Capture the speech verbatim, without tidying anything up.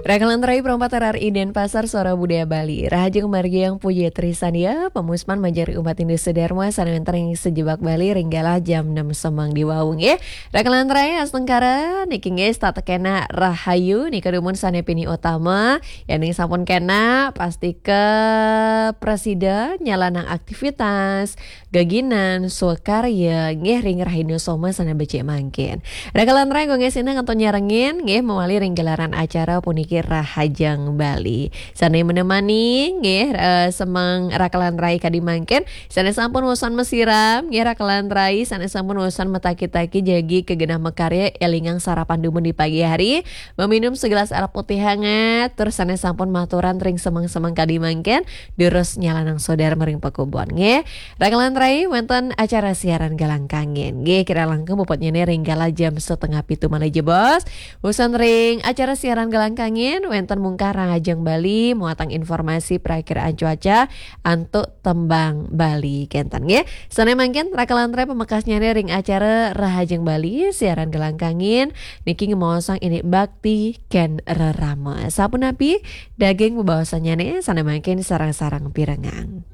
Rakalan rai perempat R R I Denpasar, Suara Budaya Bali. Rahajeng margi Yang Puji Trisania, pemuspan majeng ring umat Hindu sedharma sané wénten ring sajebag Bali ring galah jam enam semeng di wau nggih. Rakalan rai astungkara niki nggih setata kénak rahayu nika dumun sané pinih utama. Yéning sampun kénak, pastika prasida nyalanang aktivitas, geginan, swakarya, nggih ring rahina soma sané becik mangkin. Rakalan rai nggih sinah kantun nyarengin, nggih mawali ring gelaran acara puniki Rahajeng Bali. Sané menemani, nggih, eh, semeng rakalan rai kadi mangkin, sané sampun wusan masiram, nggih rakalan rai, sané sampun wusan mataki-taki jagi ka genah makarya, élingang sarapan dumun di pagi hari, meminum segelas arak putih hangat, tur sané sampun maturan ring semeng-semeng kadi mangkin, durus nyalanang swadharma ring pakubon, nggih. Rakalan rai, wénten acara siaran Galang Kangin. Nggih, kirang langkung puputnyané ring galah jam setengah pitu malih jebos. Wusan ring acara siaran Galang Kangin, wénten mungkah Rahajeng Bali, muatang informasi prakiraan cuaca, antuk tembang Bali kénten, nggih. Sané mangkin rakalan rai pamekasnyané ring acara Rahajeng Bali, siaran Galang Kangin, niki ngemaosang indik bakti kén rerama. Sapunapi daging bebaosannyané, sané mangkin sareng-sareng pirengang.